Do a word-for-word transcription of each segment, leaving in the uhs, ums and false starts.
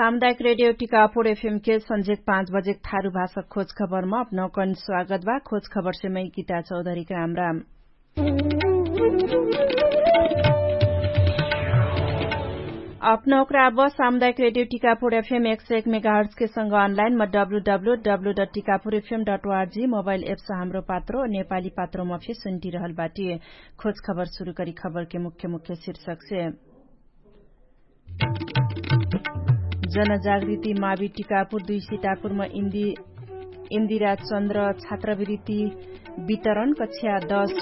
सामुदायिक रेडियो टिकापुर एफएम के सन्झेक पाँच बजेक थारु भाषा खोज खबरमा अपनौकन स्वागत बा। खोज खबरसे मै गीता चौधरीक राम राम। अपनौकरा अब सामुदायिक रेडियो टिकापुर एफएम एक सय एक मेगाहर्ट्सके संग अनलाइनमा W W W dot Tikapur FM dot ORG mobile apps Hamro Patro नेपाली पात्रोमा फे सुन्टिरहल बाटी। खोज खबर सुरु करी खबरके मुख्य मुख्य शीर्षकसे। जनजागृति मावि टिकापुर दुई सितापुरमा इन्दिरा चन्द्र छात्रवृत्ति वितरण कक्षा दस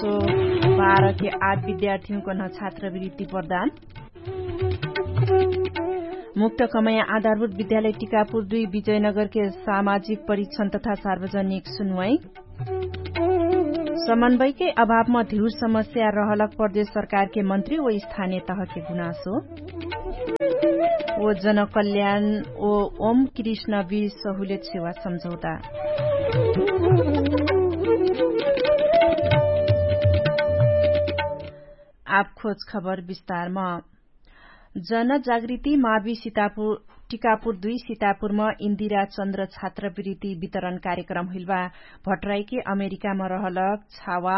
बाह्र के आठ विद्यार्थीहुँकन छात्रवृत्ति प्रदान। मुक्त कमया आधारभूत विद्यालय टिकापुर दुई विजयनगरके सामाजिक परीक्षण तथा सार्वजनिक सुनवाई। समन्वयके अभावमा धिउर समस्या रहलक प्रदेश सरकारके मन्त्री व स्थानिय तहके गुनासो। व जनकल्याण व ओम कृष्ण वीर सहुलेत सेवा सम्झौता। आब खोज खबर विस्तारमा। जनजागृति मावि टिकापुर दुई सितापुरमा इन्दिरा चन्द्र छात्रवृत्ति वितरण कार्यक्रम हुइलबा। भट्राइके अमेरिकामा रहलक छावा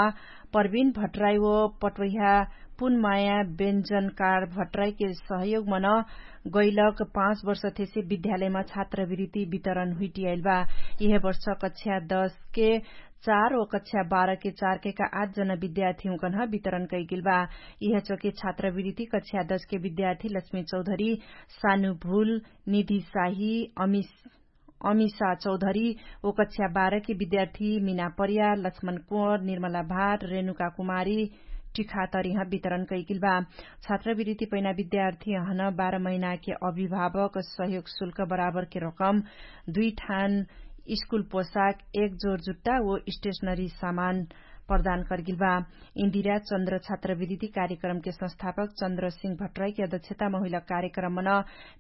परविन भट्राइ व पटवैहा पुनमाया बेन्जनकार भट्राइके सहयोगमन गैलक पाँच वर्षथेसे विद्यालयमा छात्रवृत्ति वितरण हुइटियाइलबा। इहे वर्ष कक्षा दसके चार व कक्षा बाह्रके चारकेका आठ जना विद्यार्थीहुँकन्ह वितरण कैगेलबा। इहे चोके छात्रवृत्ति कक्षा दसके विद्यार्थी लक्ष्मी चौधरी, सानु भुल, निधि साही, अमिसा चौधरी व कक्षा बाह्रके विद्यार्थी मिना परिया, लक्ष्मण कुँवर, निर्मला भाट, रेणुका कुमारी टिखातरिह वितरण कैगेलबा। छात्रवृत्ति पैना विद्यार्थी अहन बाह्र महिनाके अभिभावक सहयोग शुल्क बराबरके रकम दुई ठान स्कुल पोशाक एक जोर जुट्टा व स्टेशनरी सामान प्रदान कर्गिलबा। इन्दिरा चन्द्र छात्रवृत्ति कार्यक्रमके संस्थापक चन्द्र सिंह भट्राइके अध्यक्षतामा हुइलक कार्यक्रमन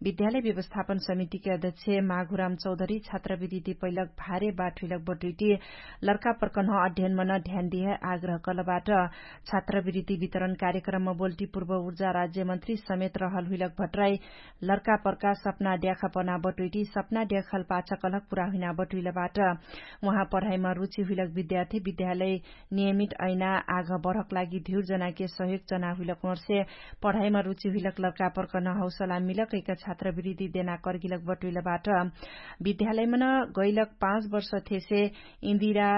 विद्यालय व्यवस्थापन समितिके अध्यक्ष माघुराम चौधरी छात्रवृत्ति पैलक भारे बाट हुइलक बटुइटी लर्का प्रकन्ह अध्ययनमन ध्यान दिहे आग्रह कलबाट। छात्रवृत्ति वितरण कार्यक्रममा बोल्टी पूर्व उर्जा राज्यमन्त्री समेत रहल हुइलक भट्राइ लर्का पर्का सपना ड्याखा पना बटुइटी सपना ड्याखल पाछा कलक पुरा हुइना बटुइलबाट। उहाँ पढाइमा रुचि हुइलक विद्यार्थी विद्यालय नियमित अइना आघ बढक लागि धिउर जनाके सहयोग जना हुइलक ओर्से पढाइमा रुचि हुइलक लर्का पर्कन हौसला मिलक कैका छात्रवृत्ति देना कर्गिलक बटुइलबाट। विद्यालयमन गैलक पाँच वर्ष थेसे इन्दिरा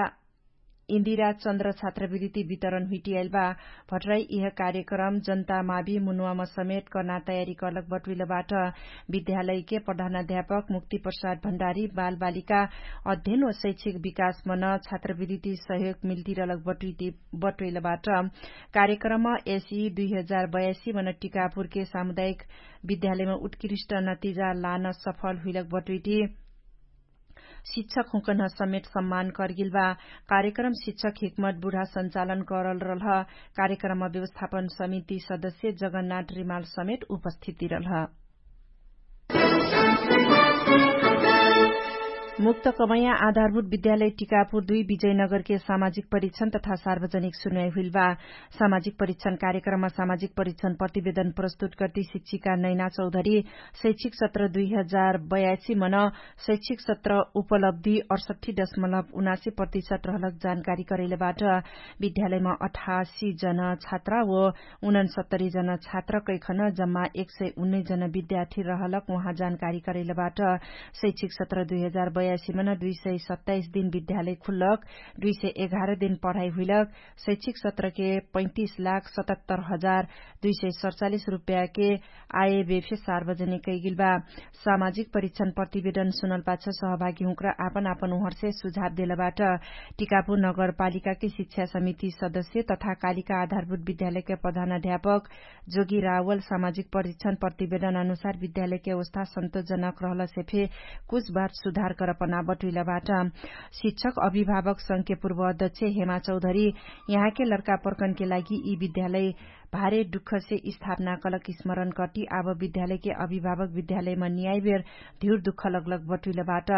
इन्दिरा चन्द्र छात्रवृत्ति वितरण हुइटियाइल बा। भट्राइ इह कार्यक्रम जनता मावि मुनुवामा समेत कर्ना तयारी कर्लक बटुइलबाट। विद्यालयके प्रधानाध्यापक मुक्ति प्रसाद भण्डारी बालबालिका अध्ययन व शैक्षिक विकासमन छात्रवृत्ति सहयोग मिल्तिरलक बटुइलबाट। कार्यक्रम एसी दुई हजार बयासी मन टिकापुरके सामुदायिक विद्यालयमा उत्कृष्ट नतिजा लान सफल हुइलक बटुइटी शिक्षक हुँकन्ह समेत सम्मान कर्गिल बा। कार्यक्रम शिक्षक हिक्मत बुढा सञ्चालन करल रल्ह। कार्यक्रममा व्यवस्थापन समिति सदस्य जगन्नाथ रिमाल समेत उपस्थिति रल्ह। मुक्त कमैया आधारभूत विद्यालय टिकापुर दुई विजयनगरके सामाजिक परीक्षण तथा सार्वजनिक सुनवाई हुइल बा। सामाजिक परीक्षण कार्यक्रममा सामाजिक परीक्षण प्रतिवेदन प्रस्तुत कर्ति शिक्षिका नैना चौधरी शैक्षिक सत्र दुई हजार बयासी मन शैक्षिक सत्र उपलब्धि अठसट्ठी दशमलब उनासी प्रतिशत रहलक जानकारी करैलबाट। विद्यालयमा अठासी जन छात्रा व उनन्सत्तरी जन छात्र कैखन जम्मा एक सय उन्नैस जन विद्यार्थी रहलक उहाँ जानकारी करैलबाट। शैक्षिक सत्र दुई हजार बयासी मन दुई सय सत्ताइस दिन विद्यालय खुल्लक दुई सय एघार दिन पढाइ हुइलक शैक्षिक सत्रके पैतिस लाख सतहत्तर हजार दुई सय सतचालिस रुपयाके आयबेफे सार्वजनिक कैगिल बा। सामाजिक परीक्षण प्रतिवेदन सुनल पाछ सहभागी हुँक्र आपन आपन उहरसे सुझाव देलबाट। टिकापुर नगरपालिकाके शिक्षा समिति सदस्य तथा कालिका आधारभूत विद्यालयके प्रधान अध्यापक जोगी रावल सामाजिक परीक्षण प्रतिवेदन अनुसार विद्यालयके अवस्था सन्तोषजनक रहलसे फे कुछ बात सुधार करपना बटुइलबाट। शिक्षक अभिभावक संघके पूर्व अध्यक्ष हेमा चौधरी यहाँके लर्का पर्कनके लागि यी विद्यालय भारे दुःखसे स्थापना कलक स्मरण कति आब विद्यालयके अभिभावक विद्यालयमा नियाइबेर धिउर दुःख लगलग बटुइलबाट।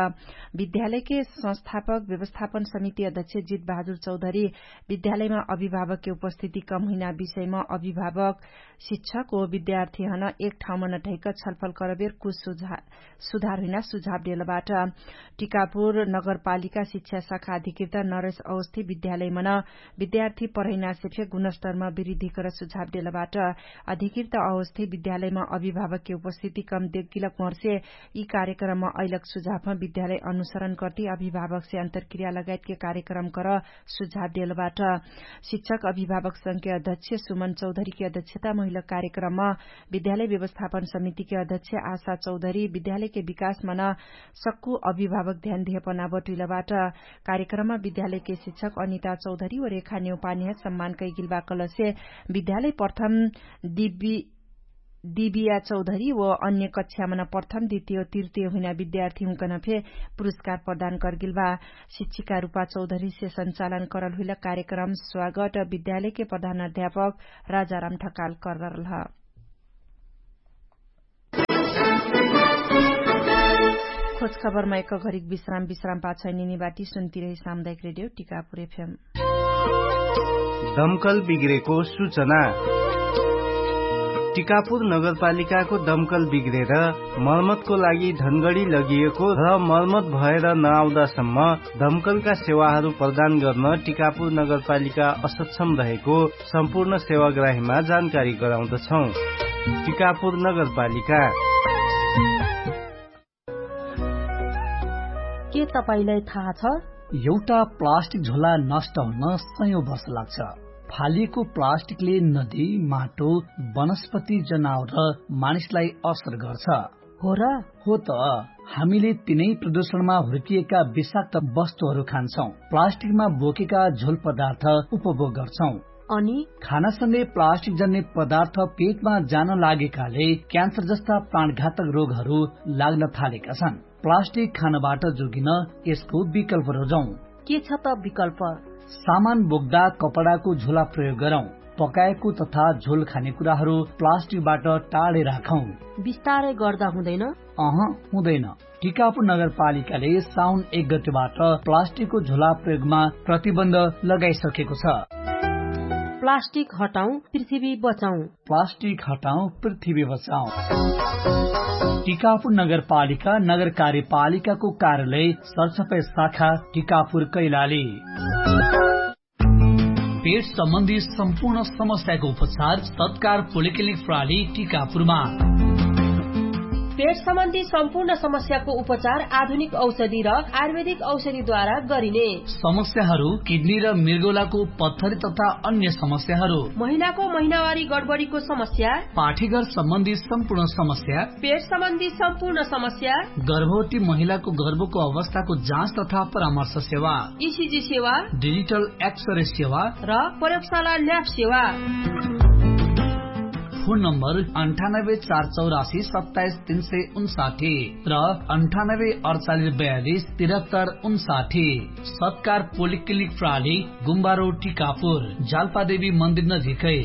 विद्यालयके संस्थापक व्यवस्थापन समिति अध्यक्ष जित बहादुर चौधरी विद्यालयमा अभिभावकके उपस्थिति कम हुइना विषयमा अभिभावक शिक्षक ओ विद्यार्थीहन एक ठाउँमा नठैक छलफल करबेर कुछ सुझाव सुधार हुइना सुझाव देलबाट। टिकापुर नगरपालिका शिक्षा शाखा अधिकृत नरेश अवस्थी विद्यालयमन विद्यार्थी पढैनासे फे गुणस्तरमा विरिधिकर सुझाव देलबाट। अधिकृत अवस्थी विद्यालयमा अभिभावकके उपस्थिति कम देगिलक मर्से यि कार्यक्रममा अइलक सुझावमा विद्यालय अनुसरण कर्ति अभिभावकसे अन्तरक्रिया लगायतके कार्यक्रम कर सुझाव देलबाट। शिक्षक अभिभावक संघके अध्यक्ष सुमन चौधरीके अध्यक्षता महिलक कार्यक्रममा विद्यालय व्यवस्थापन समितिके अध्यक्ष आशा चौधरी विद्यालयके विकासमन सक्कु अभिभावक ध्यान दिहपना बटुइलबाट। कार्यक्रममा विद्यालयके शिक्षक अनिता चौधरी व रेखा नेउपानिह सम्मान कैगिलबा कलसे विद्यालय प्रथम दिव्य दिबिया चौधरी व अन्य कक्षामन प्रथम द्वितीय तृतीय हुइना विद्यार्थी हुँकन फे पुरस्कार प्रदान करगिलबा। शिक्षिका रूपा चौधरीसे सञ्चालन करल हुइला कार्यक्रम स्वागत विद्यालयके प्रधान अध्यापक राजाराम ढकाल कररल ह। खोज खबरमा एक घरिक विश्राम विश्राम पाछै निनी बाटी सुन्ती रही सामुदायिक रेडियो टिकापुर एफएम। दमकल बिग्रेको सूचना। टिकापुर नगरपालिकाको दमकल बिग्रेर मर्मतको लागि धनगढी लगिएको र मर्मत भएर नआउँदासम्म दमकलका सेवाहरू प्रदान गर्न टिकापुर नगरपालिका असक्षम रहेको सम्पूर्ण सेवाग्राहीमा जानकारी गराउँदछौँ। टिकापुर नगरपालिका। के तपाईंलाई थाहा छ? एउटा प्लास्टिक झोला नष्ट हुन सयौं वर्ष लाग्छ। फालिएको प्लास्टिकले नदी, माटो, वनस्पति, जनावर र मानिसलाई असर गर्छ। हो र? हो त। हामीले तिनै प्रदूषणमा हुर्किएका विषाक्त वस्तुहरू खान्छौं। प्लास्टिकमा बोकेका झोल पदार्थ उपभोग गर्छौं। अनि खानासँगै प्लास्टिक जन्ने पदार्थ पेटमा जान लागेकाले क्यान्सर जस्ता प्राणघातक रोगहरू लाग्न थालेका छन्। प्लास्टिक खानबाट जोगिन यसको विकल्प रोजौं। के छ त विकल्प? सामान बोक्दा कपडाको झोला प्रयोग गरौं। पकाएको तथा झोल खाने कुराहरू प्लास्टिकबाट टाढे राखौं। बिस्तारै गर्दा हुँदैन? अह, हुँदैन। टिकापुर नगरपालिकाले साउन एक गतेबाट प्लास्टिकको झोला प्रयोगमा प्रतिबन्ध लगाइसकेको छ। प्लास्टिक हटाउँ, पृथ्वी बचाउँ। प्लास्टिक हटाउँ, पृथ्वी बचाउँ। टिकापुर नगरपालिका नगर कार्यपालिकाको कार्यालय सरसफाइ शाखा टिकापुर कैलाली। पेट सम्बन्धी सम्पूर्ण समस्याको उपचार सत्कार पोलिक्लिनिक प्रणाली टिकापुरमा। पेट सम्बन्धी सम्पूर्ण समस्याको उपचार आधुनिक औषधि र आयुर्वेदिक औषधिद्वारा गरिने। समस्याहरू किडनी र मृगौलाको पत्थरी तथा अन्य समस्याहरू। महिलाको महिनावारी गडबडीको समस्या। पाठीघर सम्बन्धी सम्पूर्ण समस्या। पेट सम्बन्धी सम्पूर्ण समस्या। गर्भवती महिलाको गर्भको अवस्थाको जाँच तथा परामर्श सेवा। इसिजी सेवा। डिजिटल एक्सरे सेवा। र प्रयोगशाला ल्याब सेवा। फोन नम्बर अन्ठानब्बे चार चौरासी सत्ताइस तीन सय उन्साठी र अन्ठानब्बे अडचालिस बयालिस तिरहत्तर उन्साठी। सत्कार पोलिक्लिनिक प्रणाली गुम्बारो टिकापुर जालपादेवी मन्दिर नजिकै।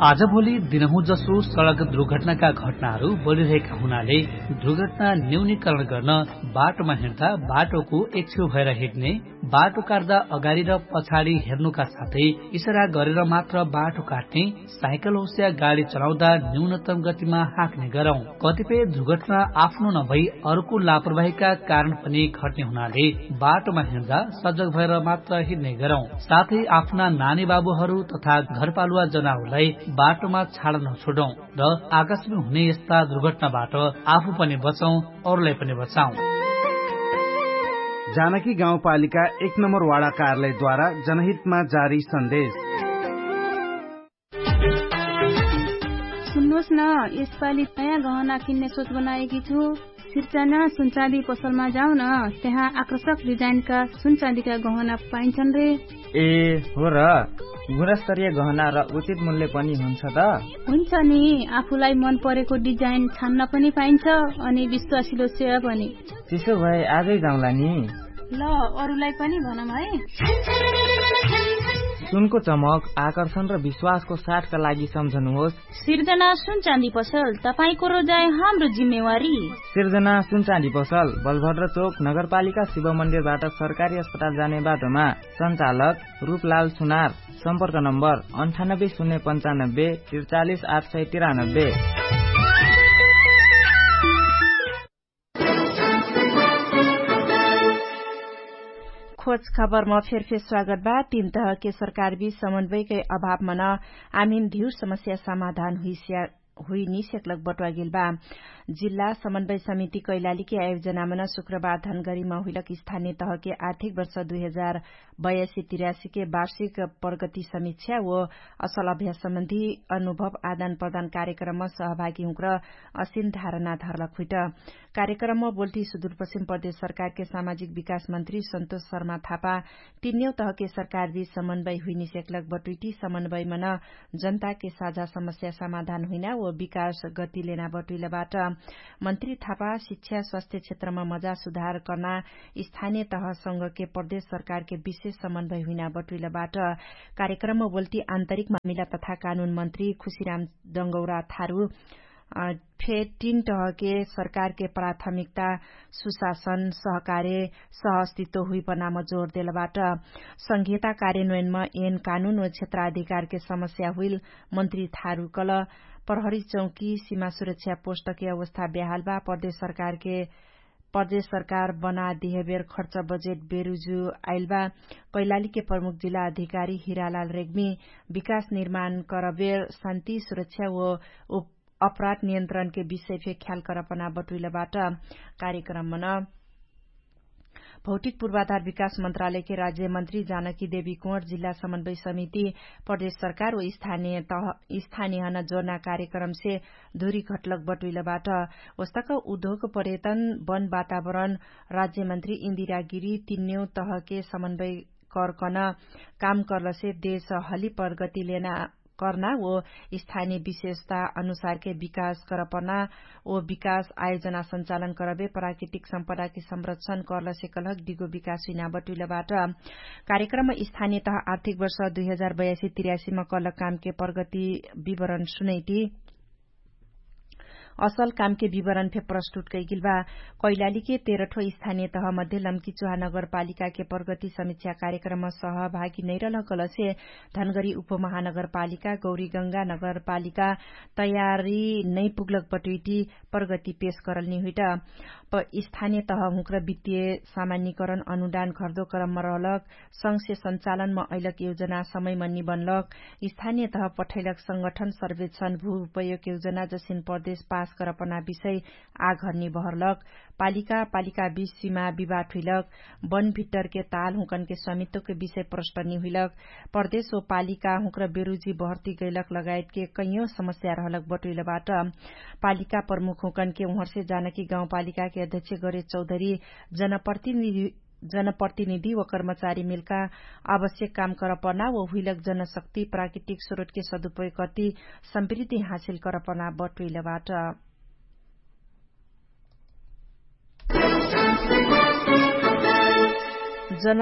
आजभोलि दिनहुँ जसो सडक दुर्घटनाका घटनाहरू बढिरहेका हुनाले दुर्घटना न्यूनीकरण गर्न बाटोमा हिँड्दा बाटोको एक छेउ भएर हिँड्ने, बाटो काट्दा अगाडि र पछाडि हेर्नुका साथै इसारा गरेर मात्र बाटो काट्ने, साइकल होस्या गाडी चलाउँदा न्यूनतम गतिमा हाँक्ने गरौँ। कतिपय दुर्घटना आफ्नो नभई अर्को लापरवाहीका कारण पनि घट्ने हुनाले बाटोमा हिँड्दा सजग भएर मात्र हिँड्ने गरौँ। साथै आफ्ना नानी बाबुहरू तथा घरपालुवा जनावरलाई बाटोमा छाड नछोडौँ र आकस्मिक हुने यस्ता दुर्घटनाबाट आफू पनि बचौँ, अरूलाई पनि बचाउँ। जानकी गाउँपालिका एक नम्बर वाडा कार्यालयद्वारा जनहितमा जारी सन्देश। सुन्नुहोस् न, यसपालि नयाँ गहना किन्ने सोच बनाएकी छु। सिर्चाना सुनचाँदी पसलमा जाऊ न, त्यहाँ आकर्षक डिजाइनका सुनचाँदीका गहना पाइन्छन् रे। ए हो र, गुणस्तरीय गहना र उचित मूल्य पनि हुन्छ त? हुन्छ नि, आफूलाई मन परेको डिजाइन छान्न पनि पाइन्छ अनि विश्वासिलो सेवा पनि। त्यसो भए आजै जाउँला नि। ल, अरुलाई पनि भनम है। सुनको चमक, आकर्षण र विश्वासको साथका लागि सम्झनुहोस्। सिर्जना सुनचाँदी पसल, तपाईंको रोजाइ हाम्रो जिम्मेवारी। सिर्जना सुनचाँदी पसल, बलभद्र चोक, नगरपालिका शिव मन्दिरबाट सरकारी अस्पताल जाने बाटोमा। सञ्चालक रूपलाल सुनार। सम्पर्क नम्बर अन्ठानब्बे शून्य पन्चानब्बे त्रिचालिस आठ सय तिरानब्बे। खोज खबरमा फेरफेर स्वागत बा। तीन तहके सरकारबीच समन्वयकै अभावमा न आमिन धिउ समस्या समाधान हुइस्या हुइ निसेक्लक बटुवागेल बा। जिल्ला समन्वय समिति कैलालीके आयोजनामा न शुक्रबार धनगरीमा हुइलक स्थानीय तहके आर्थिक वर्ष दुई हजार बयासी तिरासीके वार्षिक प्रगति समीक्षा व असल अभ्यास सम्बन्धी अनुभव आदान प्रदान कार्यक्रममा सहभागी हुँक्र असिन धारणा धरलक हुइट। कार्यक्रममा बोल्टी सुदूरपश्चिम प्रदेश सरकारके सामाजिक विकास मन्त्री सन्तोष शर्मा थापा तिन्यौ तहके सरकारबीच समन्वय हुइनिसेक्लक बटुइटी समन्वयमा न जनताके साझा समस्या समाधान हुइना व विकास गति लेना बटुइलबाट। मन्त्री थापा शिक्षा स्वास्थ्य क्षेत्रमा मजा सुधार कर्ना स्थानीय तहसँगके प्रदेश सरकारके विशेष समन्वय हुइना बटुइलबाट। कार्यक्रममा बोल्टी आन्तरिक मामिला तथा कानुन मन्त्री खुशीराम डङ्गौरा थारु फेटिन टहके सरकारके प्राथमिकता सुशासन सहकार्य सहअस्तित्व हुइपनाम जोर देलबाट। संघीयता कार्यन्वयनमा एन कानुन व क्षेत्राधिकारके समस्या हुइल मन्त्री थारुकल प्रहरी चौकी सिमा सुरक्षा पोष्टके अवस्था ब्याहालबा प्रदेश सरकारके प्रदेश सरकार बना दिहेबेर खर्च बजेट बेरुजु आइलबा। कैलालीके प्रमुख जिल्ला अधिकारी हिरालाल रेग्मी विकास निर्माण करबेर शान्ति सुरक्षा व अपराध नियन्त्रणके विषय फे ख्याल करपना बटुइलबाट। कार्यक्रममन भौतिक पूर्वाधार विकास मन्त्रालयके राज्यमन्त्री जानकी देवी कुँवर जिल्ला समन्वय समिति प्रदेश सरकार व स्थानीय तह स्थानीयहन जोर्ना कार्यक्रमसे धुरी घटलक बटुइलबाट। वस्तक उद्योग पर्यटन वन वातावरण राज्यमन्त्री इन्दिरागिरी तिन्यौ तहके समन्वय करकन काम कर्लसे देश हली प्रगति लेना कर्ना ओ स्थानीय विशेषता अनुसारके विकास करपना ओ विकास आयोजना सञ्चालन करबे प्राकृतिक सम्पदाके संरक्षण कर्लसे कलहक डिगो विकास हुइना बटुइलबाट। कार्यक्रम स्थानीय तह आर्थिक वर्ष दुई हजार बयासी तिरासीमा कलक कामके प्रगति विवरण सुनैटी असल कामके विवरण फे प्रस्तुत कैगिल बा। कैलालीके तेरठो स्थानीय तह मध्ये लम्की चुहा नगरपालिकाके प्रगति समीक्षा कार्यक्रममा सहभागी नैरलहकलसे धनगरी उपमहानगरपालिका गौरीगङ्गा नगरपालिका तयारी नैपुग्लक बटुइटी प्रगति पेश करलनी हुइट। स्थानीय तह हुँक्र वित्तीय सामान्यकरण अनुदान घर्दो क्रममा रहलक संघसे सञ्चालनमा अइलक योजना समयमा निबन्लक स्थानीय तह पठैलक संगठन सर्वेक्षण भू उपयोग योजना जसिन प्रदेश पास करपना विषय आघर निबहरलक पालिका पालिका बीच सीमा विवाद हुइलक वन भित्तरके ताल हुँकनके स्वामित्वके विषय प्रष्ट निहुइलक प्रदेश ओ पालिका हुँक्र बेरुजी बहर्ती गैलक लगायतके कैयौं समस्या रहलक बटुइलबाट। पालिका प्रमुख हुँकनके उहर्से जानकी गाउँपालिकाके अध्यक्ष गरे चौधरी जनप्रतिनिधि जनप्रतिनिधि व कर्मचारी मिलका आवश्यक काम करपना व हुइलक जनशक्ति प्राकृतिक स्रोतके सदुपयोग कति समृद्धि हासिल करपना बटुइलबाट। जन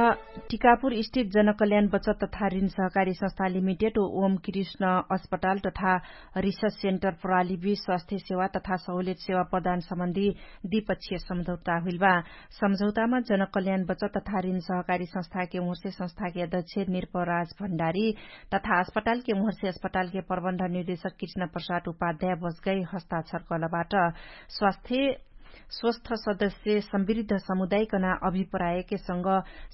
टिकापुर स्थित जनकल्याण बचत तथा ऋण सहकारी संस्था लिमिटेड ओम कृष्ण अस्पताल तथा रिसर्च सेन्टर प्रणालीबी स्वास्थ्य सेवा तथा सहुलियत सेवा प्रदान सम्बन्धी द्विपक्षीय सम्झौता हुइल बा। सम्झौतामा जनकल्याण बचत तथा ऋण सहकारी संस्थाके उहर्से संस्थाके अध्यक्ष निर्पराज भण्डारी तथा अस्पतालके उहर्से अस्पतालके प्रबन्ध निर्देशक कृष्ण प्रसाद उपाध्याय बसगै हस्ताक्षर कलबाट। स्वास्थ्य स्वस्थ सदस्य समृद्ध समुदायकना अभिप्रायके संग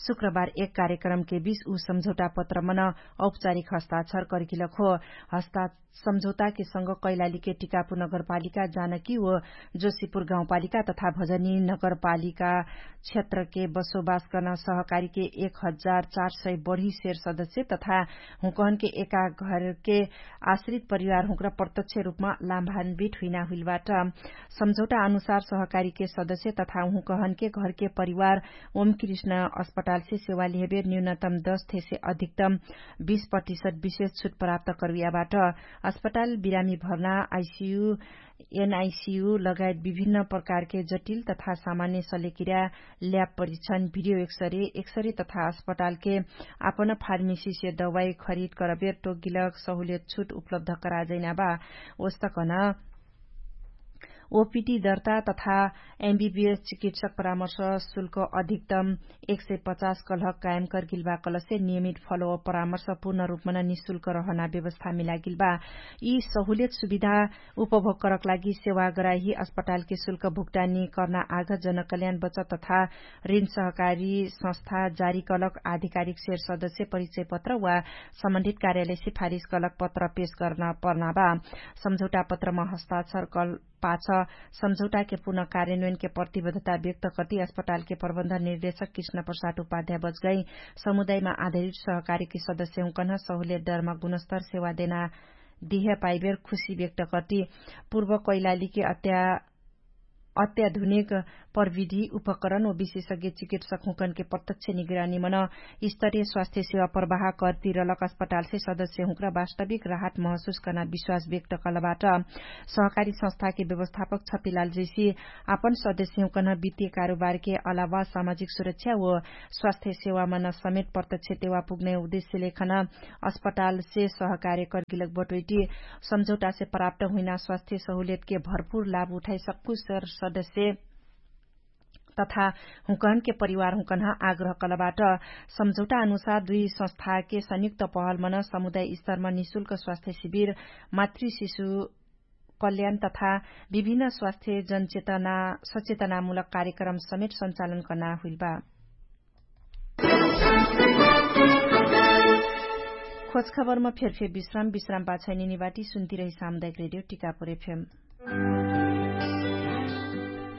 शुक्रबार एक कार्यक्रमके बीच उ सम्झौता पत्रमन औपचारिक हस्ताक्षर कर्किलक हो। हस्ता सम्झौताके संग कैलालीके टिकापुर नगरपालिका जानकी व जोशीपुर गाउँपालिका तथा भजनी नगरपालिका क्षेत्रके बसोबास कर्ना सहकारीके एक हजार चार सय बढी शेर सदस्य तथा हुँकहनके एका घरके आश्रित परिवार हुँक्रा प्रत्यक्ष रूपमा लाम्भान्वित हुइना हुइलबाट। सम्झौता अनुसार सहकारीके सदस्य तथा उहुँकहनके घरके परिवार ओमकृष्ण अस्पतालसे सेवा लिहेबेर न्यूनतम दस थेसे अधिकतम बीस प्रतिशत विशेष छुट प्राप्त करुयाबाट। अस्पताल बिरामी भर्ना आइसियु एनआइसियु लगायत विभिन्न प्रकारके जटिल तथा सामान्य सलेकिरा ल्याब परीक्षण भिडियो एक्सरे एक्सरे तथा अस्पतालके आपन फार्मेसीसे दवाई खरिद करबेर टोगिलक सहुलियत छुट उपलब्ध कराजैनाबा। ओस्तकन ओपिटी दर्ता तथा एमबिबिएस चिकित्सक परामर्श शुल्क अधिकतम एक सय पचास कलहक कायम करगिलबा कलसे नियमित फलो परामर्श पूर्ण रूपमन निशुल्क रहना व्यवस्था मिलागिलबा। यी सहुलियत सुविधा उपभोग करक लागि सेवा गराही अस्पतालके शुल्क भुक्तानी कर्ना आघ जनकल्याण बचत तथा ऋण सहकारी संस्था जारी कलक आधिकारिक सेर सदस्य परिचय पत्र वा सम्बन्धित कार्यालय सिफारिस कलक पत्र पेश कर्न पर्नाबा। सम्झौटा पत्रमा हस्ताक्षर कल पाछ सम्झौटाके पुनः कार्यान्वयनके प्रतिबद्धता व्यक्त कति अस्पतालके प्रबन्धन निर्देशक कृष्ण प्रसाद उपाध्याय बजगाई समुदायमा आधारित सहकारीके सदस्य हुँकन्ह सहुलियत डरमा गुणस्तर सेवा देना दिहे पाइबेर खुशी व्यक्त कति। पूर्व कैलालीके अत्याधुनिक प्रविधि उपकरण व विशेषज्ञ चिकित्सक हुँकनके प्रत्यक्ष निगरानीमन स्तरीय स्वास्थ्य सेवा प्रवाह कर्तिरलक अस्पतालसे सदस्य हुँक्रा वास्तविक राहत महसुस कर्ना विश्वास व्यक्त कलबाट। सहकारी संस्थाके व्यवस्थापक छतिलाल जैसी आपन सदस्य हुँकन वित्तीय कारोबारके अलावा सामाजिक सुरक्षा व स्वास्थ्य सेवामन समेत प्रत्यक्ष तेवा पुग्ने उद्देश्यलेखन अस्पतालसे सहकार्य कर्गिलक बटोइटी सम्झौटासे प्राप्त हुइना स्वास्थ्य सहुलियतके भरपुर लाभ उठाइ सक्कु सर सदस्य तथा हुँकहनके परिवार हुँकन्ह आग्रह कलबाट। सम्झौटा अनुसार दुई संस्थाके संयुक्त पहलमन समुदाय स्तरमा निशुल्क स्वास्थ्य शिविर मातृ शिशु कल्याण तथा विभिन्न स्वास्थ्य जनचेतना सचेतनामूलक कार्यक्रम समेत सञ्चालन कर्ना हुइलबा। खोजखबरमा फेरफेर विश्राम विश्राम पाछैनिनी बाटी सुन्तिरही सामुदायिक रेडियो टिकापुर एफएम।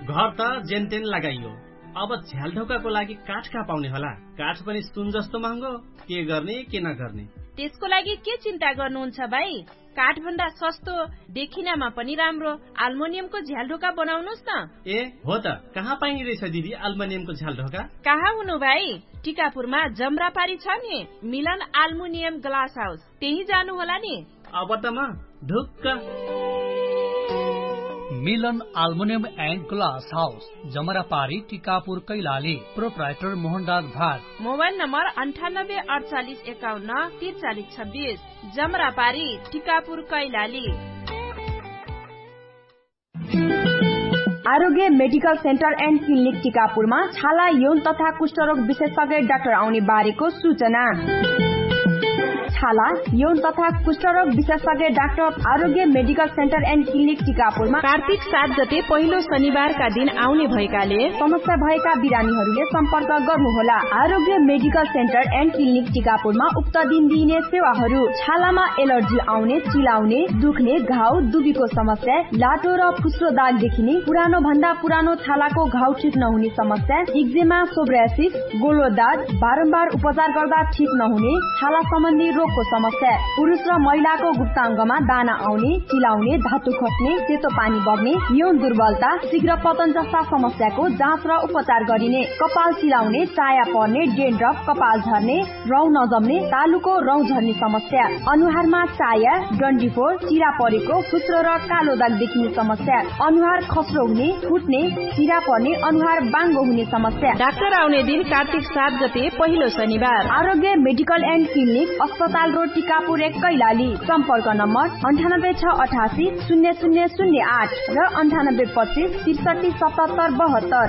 घर त जेनतेन लगाइयो, अब झ्यालढोकाको लागि काठ कहाँ पाउने होला? काठ पनि सुन जस्तो महँगो। के गर्ने के नगर्ने? त्यसको लागि के चिन्ता गर्नुहुन्छ भाइ? काठभन्दा सस्तो, देखिनामा पनि राम्रो आल्मोनियमको झ्यालढोका बनाउनुस् न। ए हो त, कहाँ पाइने रहेछ दिदी आल्मोनियमको झ्यालढोका? कहाँ हुनु भाइ? टिकापुरमा जमरापारी छ नि, मिलन आल्मुनियम ग्लास हाउस, त्यही जानु होला नि। अब त म ढुक्क। मिलन आल्मुनियम एन्ड ग्लास हाउस, जमरापारी, टिकापुर, कैलाली। प्रोप्राइटर मोहनराज भाग। मोबाइल नम्बर अन्ठानब्बे अडचालिस एकाउन्न तिरचालिस छब्बिस। जमरापारी, टिकापुर, कैलाली। आरोग्य मेडिकल सेन्टर एन्ड क्लिनिक टिकापुरमा छाला यौन तथा कुष्ठरोग विशेषज्ञ डाक्टर आउने बारेको सूचना। छाला यौन तथा कुष्ठरोग विशेषज्ञ डाक्टर आरोग्य मेडिकल सेन्टर एन्ड क्लिनिक टिकापुरमा कार्तिक सात गते पहिलो शनिबारका दिन आउने भएकाले समस्या भएका बिरामीहरूले सम्पर्क गर्नुहोला। आरोग्य मेडिकल सेन्टर एन्ड क्लिनिक टिकापुरमा उक्त दिन दिइने सेवाहरू छालामा एलर्जी आउने, चिलाउने, दुख्ने, घाउ, दुबीको समस्या, लाटो र फुस्रो दाग देखिने, पुरानो भन्दा पुरानो छालाको घाउ ठिक नहुने समस्या, इक्जेमा, सोब्रासिस, गोलो दाग, बारम्बार उपचार गर्दा ठिक नहुने छाला सम्बन्धी रोगको समस्या, पुरुष र महिलाको गुप्ताङ्गमा दाना आउने, चिलाउने, धातु खस्ने, सेतो पानी बग्ने, यौन दुर्बलता, शीघ्र पतन जस्ता समस्याको जाँच र उपचार गरिने, कपाल चिलाउने, चाया पर्ने, डेन्ड्रफ, कपाल झर्ने, रौँ नजम्ने, तालुको रौँ झर्ने समस्या, अनुहारमा चाया, डन्डीफोर, चिरा परेको, फुस्रो र कालो दाग देखिने समस्या, अनुहार खस्रो हुने, फुट्ने, चिरा पर्ने, अनुहार बाङ्गो हुने समस्या। डाक्टर आउने दिन कार्तिक सात गते पहिलो शनिबार। आरोग्य मेडिकल एन्ड क्लिनिक, अस्पताल रोड, टिकापुर एक, कैलाली। सम्पर्क नम्बर अन्ठानब्बे छ अठासी शून्य शून्य शून्य आठ र अन्ठानब्बे पच्चिस त्रिसठी सतहत्तर बहत्तर।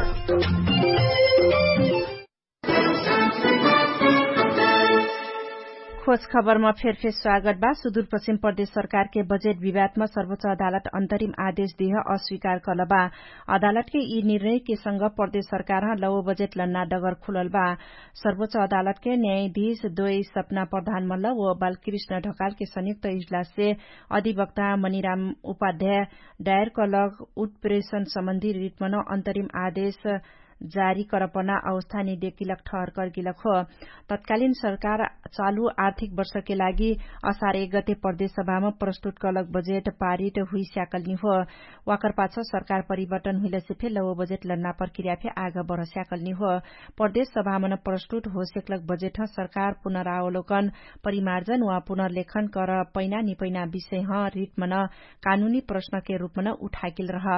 खोज खबरमा फेरफेर स्वागत बा। सुदूरपश्चिम प्रदेश सरकारके बजेट विवादमा सर्वोच्च अदालत अन्तरिम आदेश दिह अस्वीकार कलबा। अदालतके यी निर्णयके संग प्रदेश सरकारह लौ बजेट लन्ना डगर खुलल बा। सर्वोच्च अदालतके न्यायाधीश दोय सपना प्रधानमल्ल व बालकृष्ण ढकालके संयुक्त इजलाससे अधिवक्ता मनिराम उपाध्याय डायर कलक उत्प्रेषण सम्बन्धी रिटमन अन्तरिम आदेश जारी करपना अवस्था निदेकिलक ठहर करगिलक हो। तत्कालिन सरकार चालु आर्थिक वर्षके लागि असार एक गते प्रदेश सभामा प्रस्तुत कलक बजेट पारित हुइस्याकलनि हो। वाकर पाछ सरकार परिवर्तन हुइलसे फे लव बजेट लन्ना प्रक्रिया फे आग बढस्याकलनि हो। प्रदेश सभामन प्रस्तुत होसेकलक बजेट सरकार पुनरावलोकन परिमार्जन वा पुनर्लेखन कर पैना निपैना विषयह रिटमन कानुनी प्रश्नके रुपमन उठाकिल रह।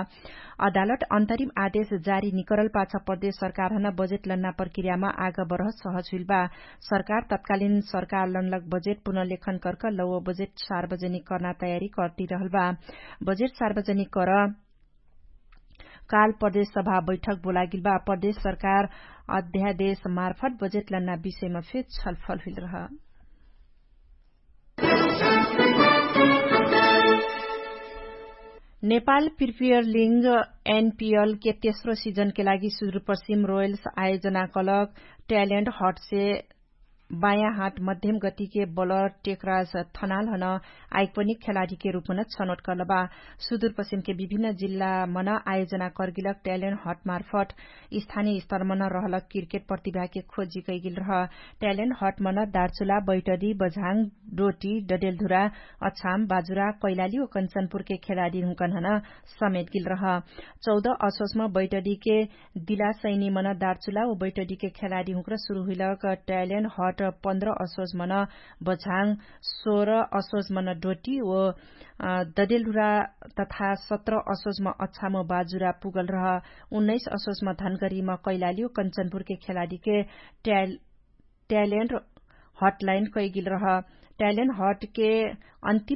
अदालत अन्तरिम आदेश जारी निकरल पाछ प्रदेश सरकारहन बजेट लन्ना प्रक्रियामा आग बढह सहज हुइल बा। सरकार तत्कालिन सरकार लन्लक बजेट पुनर्लेखन कर्क लव बजेट सार्वजनिक कर्ना तयारी कर्ति रहल बा। बजेट सार्वजनिक कर काल प्रदेश सभा बैठक बोलागिल बा। प्रदेश सरकार अध्यादेश मार्फत बजेट लन्ना विषयमा फे छलफल हुइल रह। नेपाल प्रिपियर लिङ्ग एनपिएलके तेस्रो सिजनके लागि सुदुरपश्चिम रोयल्स आयोजना कलक ट्यालेन्ट हटसे बायाँ हाट मध्यम गतिके बलर टेकराज थनालहन आइकपनिक खेलाडीके रुपमन छनोट कलबा। सुदुरपश्चिमके विभिन्न जिल्लामन आयोजना कर्गिलक ट्यालेन्ट हटमार्फट स्थानीय स्तरमन रहलक क्रिकेट प्रतिभाके खोजी कैगिल रह। ट्यालेन्ट हटमन दार्चुला बैटरी बझाङ डोटी डडेलधुरा अछाम बाजुरा कैलाली व कन्चनपुरके खेलाडीहुँकनहन समेटगिल रह। चौध असोसम बैटरीके दिला सैनीमन दार्चुला व बैटरीके खेलाडीहुँकर सुरु हुइलक ट्यालेन्ट हट पन्ध्र असोसमन बझाङ सोह्र असोसमन डोटी व ददेलधुरा तथा सत्र असोसम अछाम बाजुरा पुगल रह। उन्नैस असोसम धनगरीम कैलाली व कन्चनपुरके खेलाडीके ट्यालेन्ट हटलाइन कैगिल रह। ट्यालेन्ट हटके अन्तिम